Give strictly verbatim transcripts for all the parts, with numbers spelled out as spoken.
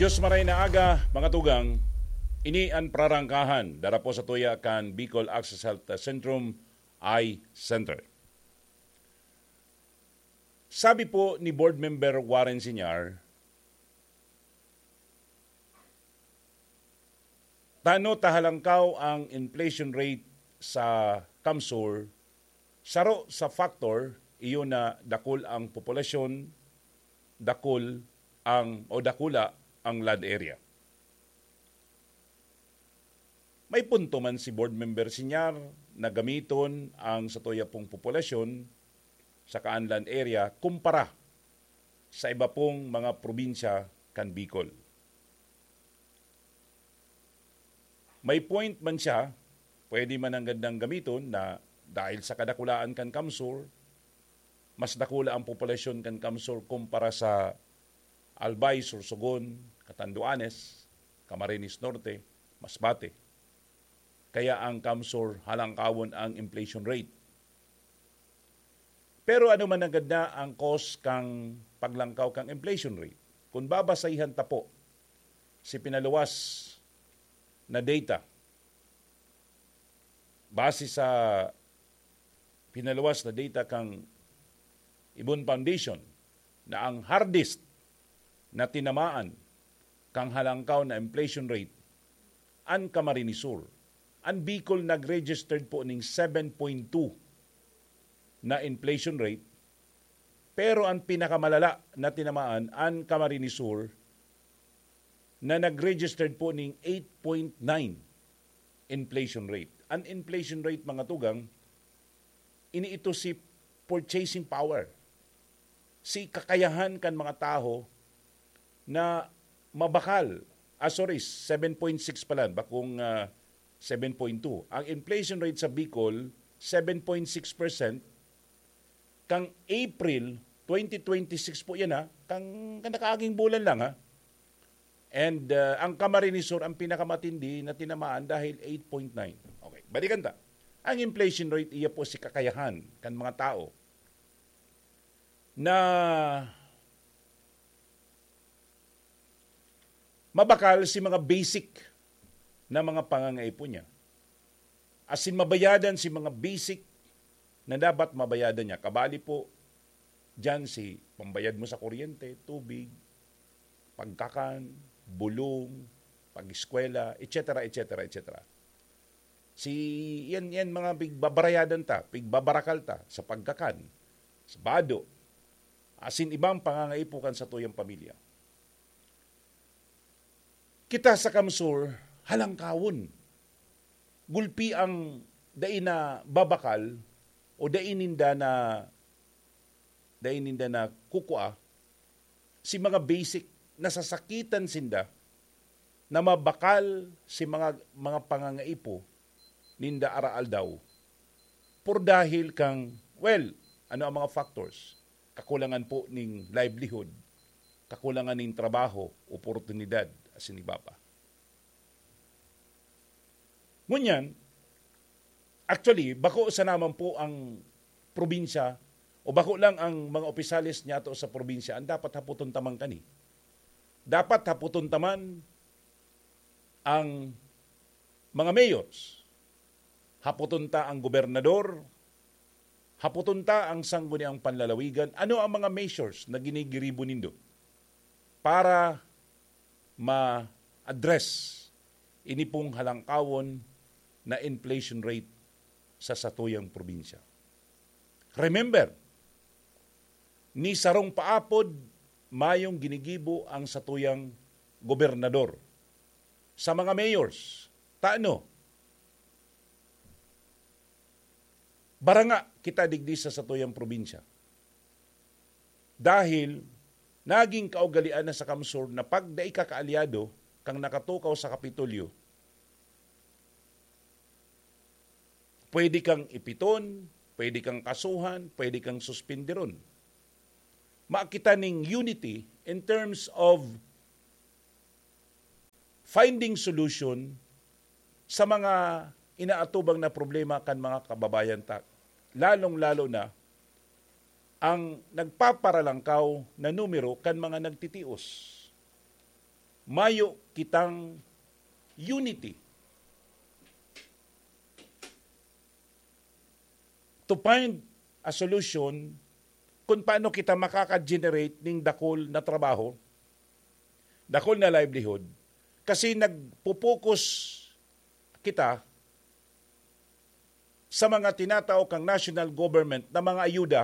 Diyos maray na aga, mga tugang. Ini an prarangkahan, dara po sa tuya kan Bicol Access Health Centrum Eye Center. Sabi po ni Board Member Warren Sinyar, tano ta halangkaw ang inflation rate sa CamSur, saro sa factor, iyo na dakul ang populasyon, dakul ang, o dakula ang land area. May punto man si Board Member Sinyar na gamiton ang satuya pong populasyon sa kaan land area kumpara sa iba pong mga probinsya kan Bicol. May point man siya, pwede man ang gandang gamiton na dahil sa kadakulaan kan CamSur, mas dakula ang populasyon kan CamSur kumpara sa Albay, Sorsogon, Catanduanes, Camarines Norte, Masbate. Kaya ang CamSur halangkawon ang inflation rate. Pero ano man nanggad na ang cause kan paglangkaw kan inflation rate? Kung babasahan ta po si pinaluwas na data, base sa pinaluwas na data kan Ibon Foundation, na ang hardest na tinamaan kan halangkaw na inflation rate an Camarines Sur. An Bicol nag-registered po ning seven point two na inflation rate, pero ang pinakamalala na tinamaan an Camarines Sur na nag-registered po ning eight point nine inflation rate. An inflation rate, mga tugang, ini ito si purchasing power, si kakayahan kan mga tawo na mabakal. Ah, sorry, seven point six pala, bakong, ah, seven point two. Ang inflation rate sa Bicol, seven point six percent. Kang April twenty twenty-six po yan, ha. Kang, kang nakaaging bulan lang, ha. And, ah, ang Camarines Sur ang pinakamatindi na tinamaan dahil eight point nine. Okay, balikan ta. Ang inflation rate, iya po si kakayahan kan mga tao na mabakal si mga basic na mga pangangaipo niya. Asin mabayadan si mga basic na dapat mabayadan niya. Kabali po diyan si pambayad mo sa kuryente, tubig, pagkakan, bulong, pag-eskwela, et cetera, et cetera, et cetera. Si, yan, yan mga pigbabarayadan ta, pigbabarakal ta sa pagkakan, sa bado, asin ibang pangangaipo kan satuyang pamilya. Kita sa CamSur, halangkawon. Gulpi ang dai na babakal o dai ninda na, dai ninda na kukua si mga basic, nasasakitan sinda na mabakal si mga, mga pangangaipo ninda araaldaw. Por dahil kang, well, ano ang mga factors? Kakulangan po ning livelihood, kakulangan ning trabaho, oportunidad, asin iba pa. Ngunyan, actually, bako sana man po ang probinsya o bako lang ang mga opisyales niyato sa probinsya ang dapat hapoton ta man kani. Dapat hapoton ta man ang mga mayors, hapoton ta ang gobernador, hapoton ta ang Sangguniang Panlalawigan, ano ang mga measures na ginigiribo nindo para ma-address ini pong halangkawon na inflation rate sa satuyang probinsya? Remember, ni sarong paapod mayong ginigibo ang satuyang gobernador. Sa mga mayors, tano, baranga kita digdi sa satuyang probinsya. Dahil naging kaugalian na sa CamSur na pag dai ka kaalyado kang nakatukaw sa Kapitolyo, pwede kang ipiton, pwede kang kasuhan, pwede kang suspindiron. Makita ning unity in terms of finding solution sa mga inaatubang na problema kan mga kababayan ta, lalong-lalo na ang nagpaparalangkaw na numero kan mga nagtitios. mayo kitang unity to find a solution kung paano kita makaka-generate ning dakul na trabaho, dakul na livelihood. Kasi nagpo-focus kita sa mga tinatao kang national government na mga ayuda,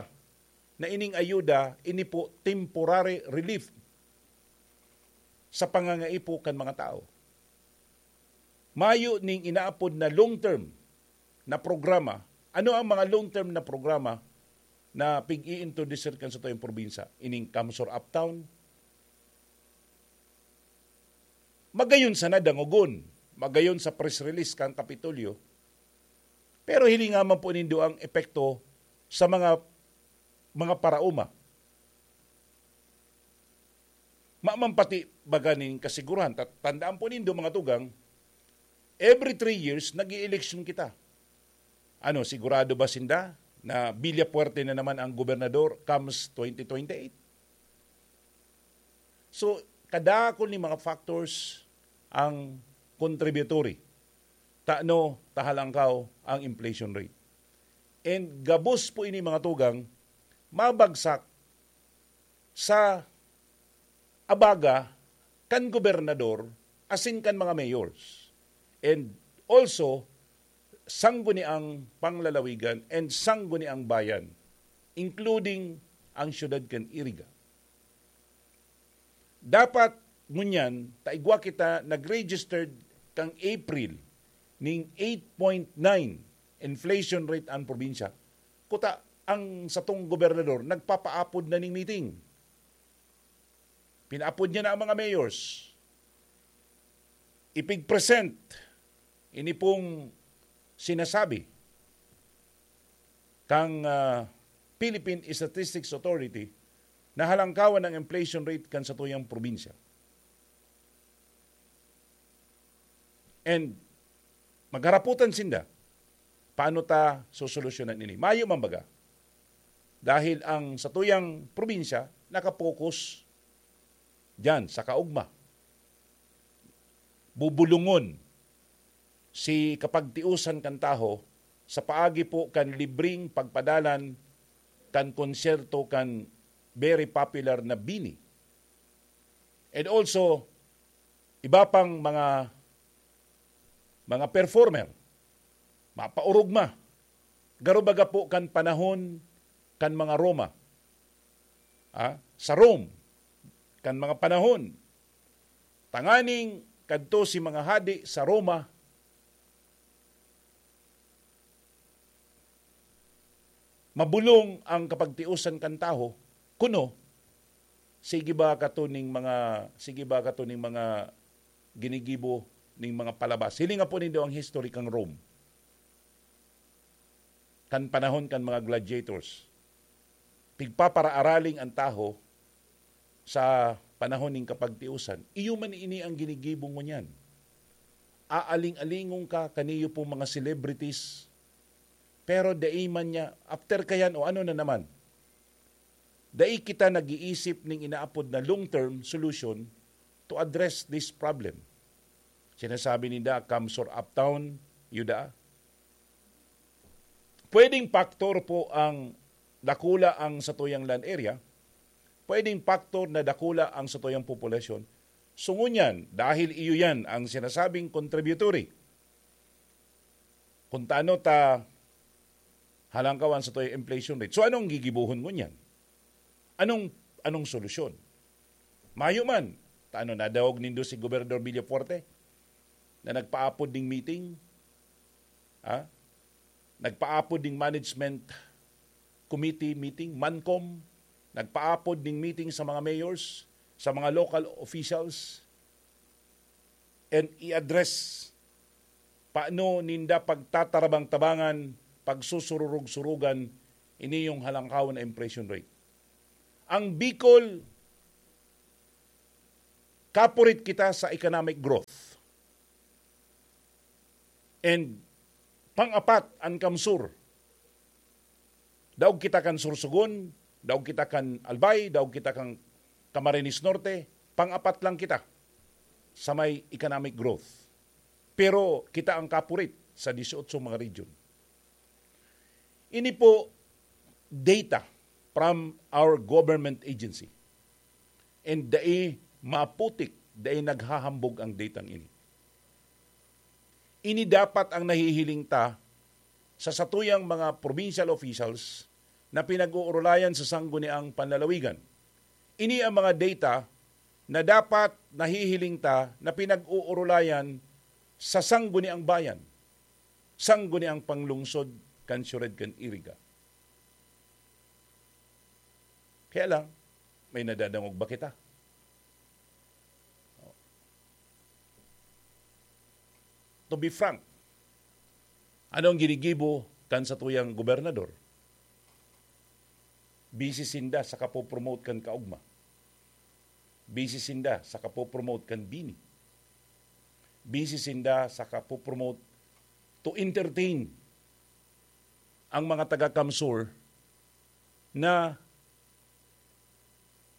na ining ayuda, ini po temporary relief sa pangangaipo kan mga tao. Mayo ning inaapod na long-term na programa. Ano ang mga long-term na programa na pig-i-introduce kan satuyang probinsya? Ining CamSur Uptown, magayon sana dangogon, magayon sa press release kan Kapitolyo, pero hilinga man po nindo ang epekto sa mga, mga paraoma. Maman pati baga nin kasiguruhan. Ta-, tandaan po nindo, mga tugang, every three years, nag-i-eleksyon kita. Ano, sigurado ba sinda na Villafuerte na naman ang gobernador comes twenty twenty-eight? So, kadakul ni mga factors ang contributory tano ta halangkaw ang inflation rate. And gabos po ini, mga tugang, mabagsak sa abaga kan gobernador asin kan mga mayors. And also, sangguniang panglalawigan and sangguniang bayan, including ang siyudad kan Iriga. Dapat ngunyan, ta igwa kita nag-registered kang April ning eight point nine inflation rate an probinsya. Kuta, ang satong gobernador nagpapaapod na ning meeting. Pinaapod niya na ang mga mayors. Ipig-present ini pong sinasabi kang, ah, Philippine Statistics Authority na halangkawan ang inflation rate kan satuyang probinsya. And magharapotan sinda, paano ta sosolusyonan ini? Mayo man baga. Dahil ang satuyang probinsya nakapokus diyan sa kaugma. Bubulungon si kapagtiusan kan tawo sa paagi po kan libreng pagpadalan kan konsyerto kan very popular na BINI. And also, iba pang mga, mga performer, mapaorog ma. Garo baga po kan panahon kan mga Roma. Ah, sa Rome, kan mga panahon, tanganing kadto si mga hadi sa Roma, mabulong ang kapagtiusan kan tawo, kuno, sige ba kato ning mga, sige ba kato ning mga ginigibo ning mga palabas? Hilinga po nindo ang history kan Rome. Kan panahon kan mga gladiators. Pigpaparaaraling ang tawo sa panahon ning kapagtiusan. Iyo man ini ang ginigibo ngunyan. Aaling-alingon ka kaniyo pong mga celebrities, pero dai man niya, after kayan o ano na naman, dai kita nag-iisip ning inaapod na long-term solution to address this problem. Sinasabi ninda, "Come, sir, uptown, yuda." Pwedeng factor po ang dakula ang satuyang land area, pwedeng factor na dakula ang satuyang populasyon. So ngunyan, dahil iyo yan ang sinasabing contributory, kung tano ta halangkawan satuyang inflation rate. So anong gigibohon ngunyan? Anong, anong solusyon? Mayo man, tano nadawog nindo si Gobernador Villafuerte na nagpaapod ning meeting? Ha? Nagpaapod ning management committee meeting, MANCOM, nagpaapod ning meeting sa mga mayors, sa mga local officials, and i-address paano ninda pagtatarabang-tabangan, pagsusururog-surugan ini yung halangkaw na inflation rate. Ang Bicol, kapurit kita sa economic growth. And pang-apat, ang CamSur. Daog kita kan Sorsogon, daog kita kan Albay, daog kita kan Camarines Norte, pang-apat lang kita. sa may economic growth. Pero kita ang kapurit sa dieciocho mga region. Ini po data from our government agency. And dai maputik, dai naghahambog ang datang ini. Ini dapat ang nahihiling ta sa satuyang mga provincial officials na pinag-uurulayan sa sangguniang panlalawigan. Ini ang mga data na dapat nahihiling ta na pinag-uurulayan sa sangguniang bayan, sangguniang panglungsod kan siyudad kan Iriga. Kaya lang, may nadadangog ba kita? To be frank, ano ang ginigibo kan satuyang gobernador? Busy sinda sa kapopromote kan kaugma. Busy sinda sa kapopromote kan bini. Busy sinda sa kapopromote to entertain ang mga taga-CamSur na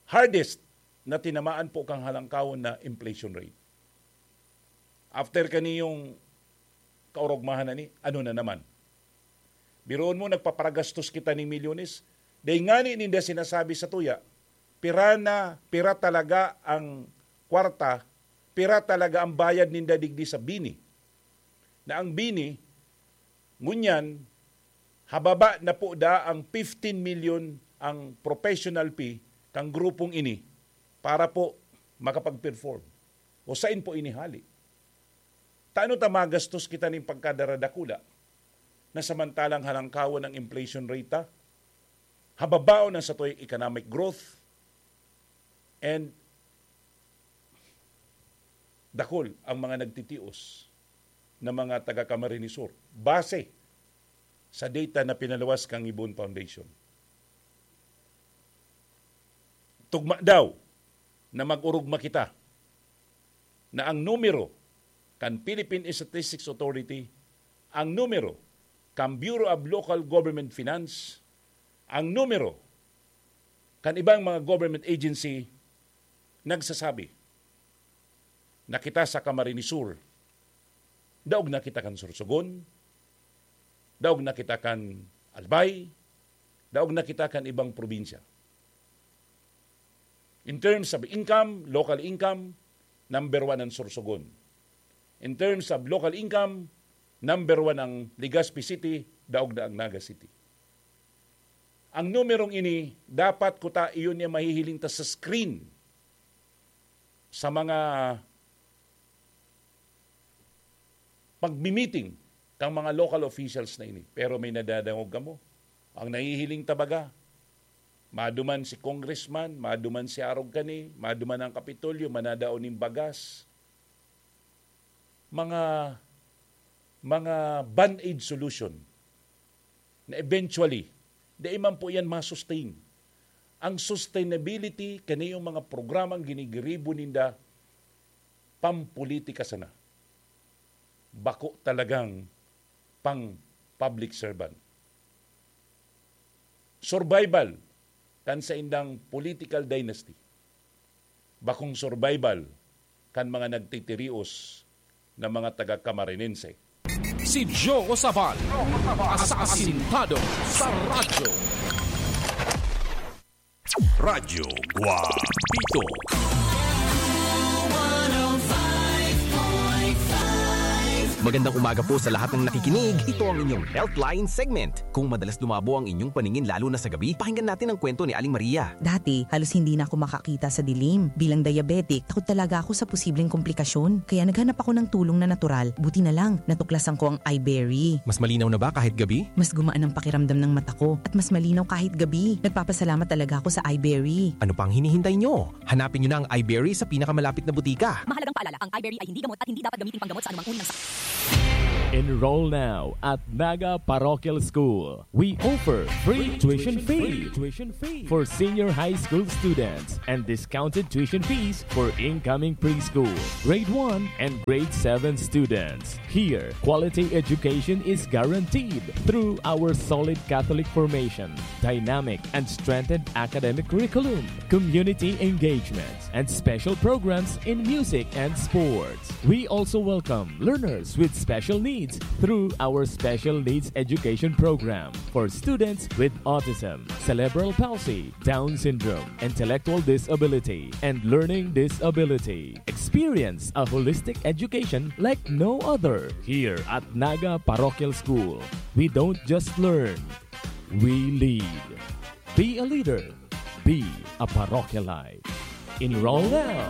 hardest na tinamaan po kang halangkawon na inflation rate. After kaniyong kaorogmahan na ni, ano na naman? Biruon mo, nagpaparagastos kita ning milyones. Dai ngani ninda sinasabi sa tuya, pira na, pira talaga ang kwarta, pira talaga ang bayad ninda digdi sa bini. Na ang bini, ngunyan, hababa na po da ang fifteen million ang professional fee kang grupong ini para po makapag-perform. O sain po ini hali? Tano ta magastos kita ning pagkadaradakula na samantalang halangkawon ang inflation rate ta, hababaon ang satoy economic growth, and dakul ang mga nagtitios na mga taga Camarines Sur, base sa data na pinaluwas kang Ibon Foundation. Tugma daw na mag-orogma kita na ang numero kan Philippine Statistics Authority, ang numero kan Bureau of Local Government Finance, ang numero kan ibang mga government agency nagsasabi na kita sa Camarines Sur, daog na kita kan Sorsogon, daog na kita kan Albay, daog na kita kan ibang probinsya. In terms of income, local income, number one ang Sorsogon. In terms of local income, number one ang Legazpi City, daog na ang Naga City. Ang numerong ini, dapat kuta iyon niya mahihiling ta sa screen sa mga pagmi-meeting kang mga local officials na ini. Pero may nadadangog kamo. Ang nahihiling ta baga, maduman si congressman, maduman si arog kani, maduman ang Kapitolyo, manadao nin bagas. Mga, mga band-aid solution na eventually, dai man po yan masustain. Ang sustainability kaniyong mga programang ginigiribo ninda, pampolitika sana. Bako talagang pang public servant. Survival kan saindang political dynasty. Bakong survival kan mga nagtitirios na mga taga-Camarinense. Si Joe Sabal, asasintado sa radyo. Radyo Guapito. Magandang umaga po sa lahat ng nakikinig. Ito ang inyong Healthline segment. Kung madalas lumabo ang inyong paningin lalo na sa gabi, pakinggan natin ang kwento ni Aling Maria. Dati, halos hindi na ako makakita sa dilim. Bilang diabetic, takot talaga ako sa posibleng komplikasyon. Kaya naghanap ako ng tulong na natural. Buti na lang, natuklasan ko ang iBerry. Mas malinaw na ba kahit gabi? Mas gumaan ang pakiramdam ng mata ko at mas malinaw kahit gabi. Nagpapasalamat talaga ako sa iBerry. Ano pang hinihintay nyo? Hanapin nyo na ang iBerry sa pinakamalapit na butika. Mahalagang paalala, ang iBerry ay hindi gamot at hindi dapat gamitin panggamot sa anumang uri ng sakit. Enroll now at Naga Parochial School. We offer free tuition fee for senior high school students and discounted tuition fees for incoming preschool, grade one, and grade seven students. Here, quality education is guaranteed through our solid Catholic formation, dynamic and strengthened academic curriculum, community engagement, and special programs in music and sports. We also welcome learners with special needs through our Special Needs Education Program for students with autism, cerebral palsy, Down syndrome, intellectual disability, and learning disability. Experience a holistic education like no other here at Naga Parochial School. We don't just learn, we lead. Be a leader. Be a parochialite. Enroll now.